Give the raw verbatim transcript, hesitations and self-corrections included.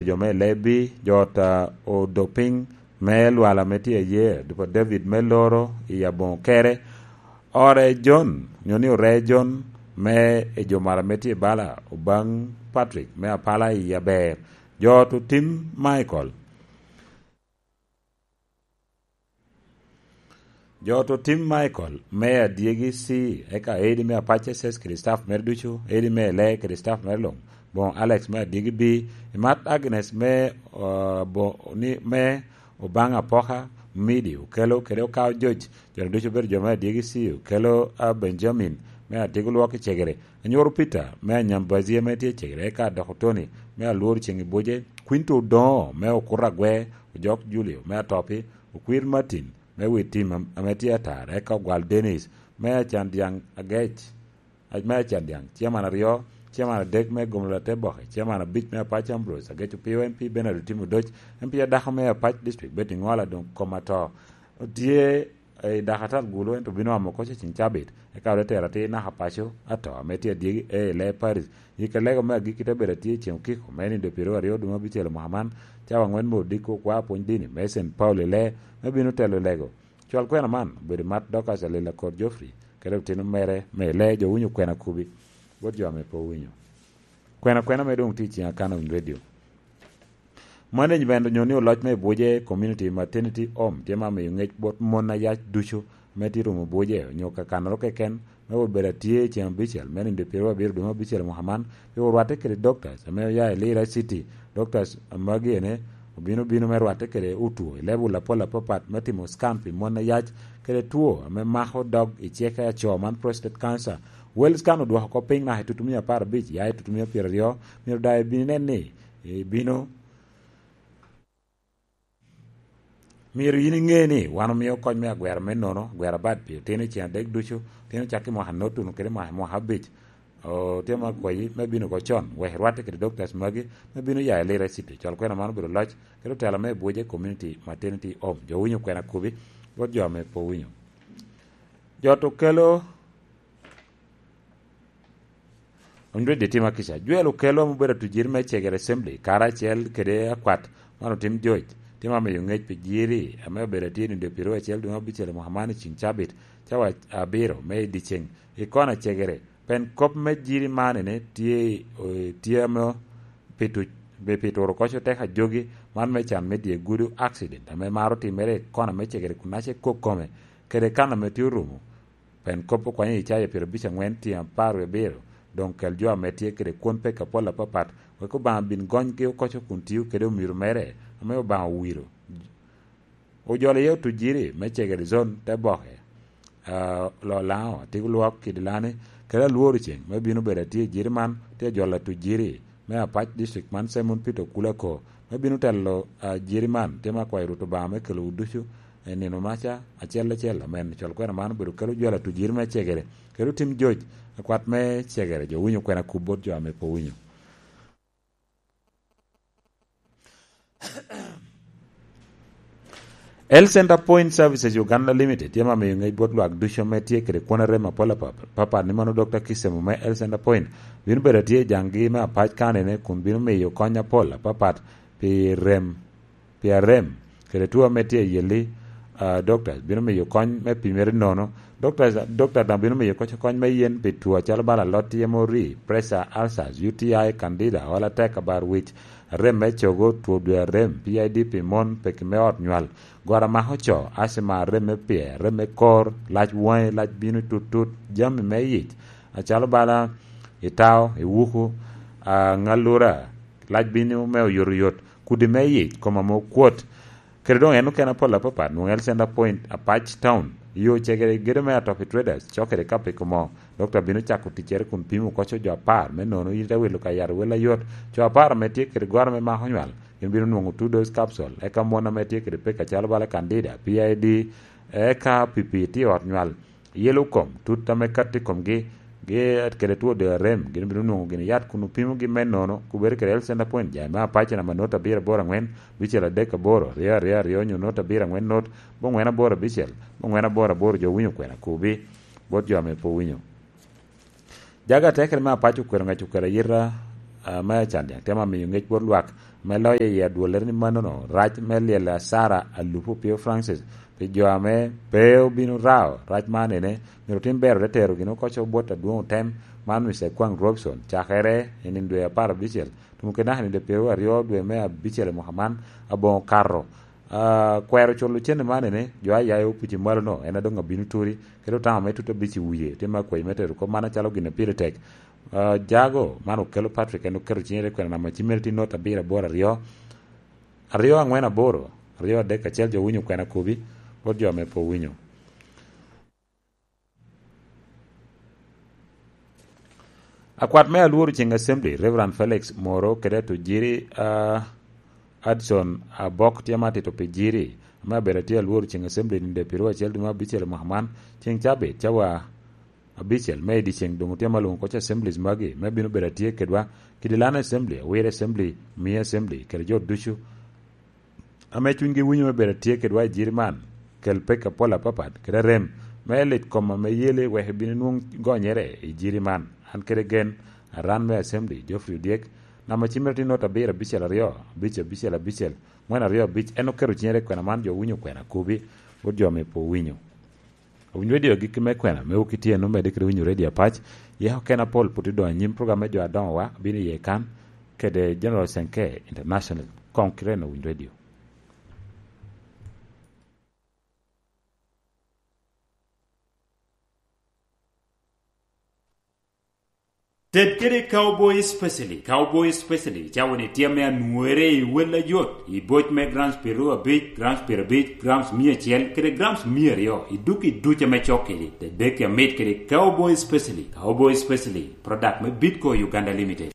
jo me Lebi, jo ot a Odopiny me lwala me tye aye, dupa David me loro i aboŋo kere, ore Jon, nyo ni ore Jon me i jo mara me tye bala, Obaŋ Patrick me Apala i aber, jo ot Otim Michael. Jo ot Otim Michael me Adyegi C, eka Edi me Apac S S kede staff mere ducu, Edi me Ele kede staff mere luŋ, boŋo Alex me Adyegi B, Imat Agnes me, uh, bo-, ni, me Obaŋ Apoka, Midi, Okelo kede Okao Joc, jo ducu obedo jo me Adyegi C, Okelo, uh, Benjamin me Adyegi Lwok i Cegere, Anyoro Peter me Anyambazi ame tye i Cegere, eka Doko Tony me Alwor Ceŋ i Buce, Quinto Odoŋo me Okuto Agwe, Ojok Julio me Atopi, Okwir Martin me Witim am-, ame tye atar, eka Ogwal Dennis me Acan Dyaŋ Agec, a-, me Acan Dyaŋ, Chairman aryo, Chairman adek me Gomolo Ateboke, Chairman abic me Apac Ambrose Agec Opio, M P Bernard Otim Odoc, M P adako me Apac District Betty Ŋola doŋ kom ato. Otye i dako atal gulu, ento bino amo koc i ceng cabit, eka ote tero atir naka paco ato ame tye adyegi A i Lee Paris. Yika lego me agikki te bedo atye i ceng okiko me nindo pyeraryo dwe me abicel mwaka man, cawa aŋwen me odiko okwa pwony dini me Saint Paul i Lee, me bino telo lego. Cwal kwena man obedo mat Dorcas Alil Akor Geoffrey, kede otino mere me Lee jo winyo kwena kubi, bot jo ame pe owinyo. Kwena kwena me doŋ tye i ceng akana winy radio. Management onyo ni oloc me Buje Community Maternity Home tye ma miyo ŋec bot mon ayac ducu me tye rumo Buje onyo kakanoro keken me wot bedo atye i ceng abicel me nindo pyeraryo abiro dwe me abicel mwaka man, pi orwatte kede doctors ame oya i Lira City. Doctors magi ene obino bino me rwatte kede otwo i level apol apapat me timo scan pi mon ayac kede two ame mako dog i ceke aco man prostate cancer. Wells kan odwoko oko piny naka i tutumia apar abic ya i tutumia pyeraryo, myero daŋ ibin inen ni ibino Myero yin iŋe ni wan omio kony me agwero me nono, agwero abad pi otino i ceng adek ducu, otino cakki mwaka notunu kede mwaka, mwaka abic. O, tye ma akwayi me bino oko con, wek irwatte kede doctors magi, me bino ya i Lira City. Cwal kwena man obedo loc, kede otela me Buje Community Maternity Home. Jo winyo kwena kubi, bot jo ame pe owinyo. Jo to kelo Onywedde tye ma kica. Joel Okello ame obedo atujiri me Cegere Assembly, karacel kede akwat man Otim Joc, tye ma miyo ŋec pi jiri ame obedo atye i nindo pyeraryo acel dwe me abicel i mwaka man i ceng cabit, cawa abiro me i dyeceŋ, i kona Cegere. Pen kop me jiri man ene tye, eh, tye ame pi tuc, pi, pi turo koc oteka jogi, man me can me dye gudo, accident, ame maro timere i kona me Cegere kun ace kok kome, kede kan ame tye orumo. Pen kop okwanyo Icaya pyerabic aŋwen tyen apar wie abiro, doŋ kel jo ame tye kede kwon peko apol apapat, wek Obaŋa bin gonygi okoco kun tio kede omiro mere ame Obaŋa owiro. Ojolo iye otujiri me Cegere Zone te boke, ah, Lolaŋo, Atigolwok, Kidilani, kede Alworo Ceng, me bino bedo atye i jiri man, tye ajolo atujiri me Apac District man Simon Peter Okulako, me bino telo, ah, jiri man, tye ma akwayo Rwot Obaŋa me kelowu ducu, i nino maca, acel acel, amen. Cwal kwena man obedo kelo jwal atujiri me Cegere, kede Otim Joc, akwat me Cegere, jo winyo kwena kub bot jo ame pe owinyo. Health Center Point Services Uganda Limited tye ma miyo ŋec bot lwak ducu ame tye kede kwon arem apol apapat, ni mano Doctor Kisemo me Health Center Point bino bedo atye i jaŋgi me Apac County-ne kun bino miyo kony apol apapat pi rem, pi arem, kede two ame tye i yelli, ah, doctors bino miyo kony me pimere nono. Doctors, doctor daŋ bino miyo koc kony me yen pi two acalo bala alot yemo ri, pressure, ulcers, U T I, candida, olo atek, abar wic, arem me cogo, two dwe arem, P I D pi mon, peki me ot nywal, goro amako co, asthma, arem me pyer, arem me kor, lac waŋi, lac bino tut tut, jami me yic, acalo bala itao, iwuku, ah, ŋalura, lac bino me oyotoyot, kudi me yic, kom ame okwot. Kede doŋ en okene apol apapat, nwoŋo Health Center Point, Apac Town, yo Cegere gedo me Atopi Traders, cok kede Kapiko mo. Dokta bino cako ticcere kun pimo koco jo apar, me nono in ite wilo ka yat wel ayot. Co apar ame tye kede goro me mako nywal, gin bino nwoŋo two dose capsule, eka mon ame tye kede pek acalo bala candida, P I D, eka pipi tye i ot nywal. Yelo kom, tut ame kato i komgi, gi kede two dwe arem, gin bino nwoŋo gin yat kun opimogi me nono, kubere kede Health Center Point, jai me Apac namba not abiro aboro aŋwen, bicel adek aboro, aryo aryo aryo, nyo not abiro aŋwen not, bongwen aboro abicel, bongwen aboro aboro, jo winyo kwena kubi, bot jo ame pe owinyo. Jaga atekere me Apac okwero ŋec okwero ayita, ah, me Acandyaŋ, temo amiyo ŋec bot lwak, me loyo i adwollere ni mannono rac me lyel asara alupu pio Francis pi jo ame pe obino rao rac man ene, myero otim bero te tero gin oko co bot adwoŋ otem man Mister Kwang Robson cakere i nino dwe apar abicel tumo kede naka i nino dwe pyeraryo dwe me abicel i mwaka man aboŋo okato. Ah, kwero culo cene man ene, jo a yaye opici malo-no en a doŋ abino turi, kede otamo me tut abic i wie, tye me akwayi me tero kop man acalo gin a pire tek. Ah, jago man okelo Patrick en oketo cinge i kwena namba cimere tye not abiro aboro aryo, aryo angwen aboro, aryo adek acel jo winyo kwena kobi, bot jo ame pe owinyo. Akwat me alworo ceng Assembly, Reverend Felix Moro kede Tujiri, ah, Adson Abok tye ma tito pi jiri, ame abedo atye alworo ceng Assembly nino dwe pyeraryo acel dwe me abicel i mwaka man, ceng cabit, cawa abicel me i dyeceng doŋ otye ma lwoŋo koc Assemblies magi, me bino bedo atye kedwa, kidi Lana Assembly, Awira Assembly, Mia Assembly, kede jo ducu ame cunygi winyo me bedo atye kedwa i jiri man, kel pek apol apapat, kede rem me lit kom ame yele wek ebin enwoŋ gonyere i jiri man. An kede gen, aran me Assembly, Geoffrey Odyek, namba cimere tye not abiro abicel aryo, abic abicel abicel, ŋwen aryo abic, en oketo cinyere i kwena man, jo winyo kwena kobi, bot jo ame pe owinyo. Owiny redio agikki me kwena, me wok itye en omedde kede winyo redio apac, yeko ken apol pwod idoŋ anyim program me jo adoŋowa, bino iye kan, kede General Senke International, koŋ kite en owiny redio. Ted kede Cowboy Specially. Cowboy Specially, cawa ni tye ame anwore i wel ayot, i boc me grams pyeraryo abic, grams pyerabic, grams mia acel, kede grams mia aryo, i duk i duc ame cok kedi. Tedeki amit kede Cowboy Specially. Cowboy Specially, product me Bitco Uganda Limited.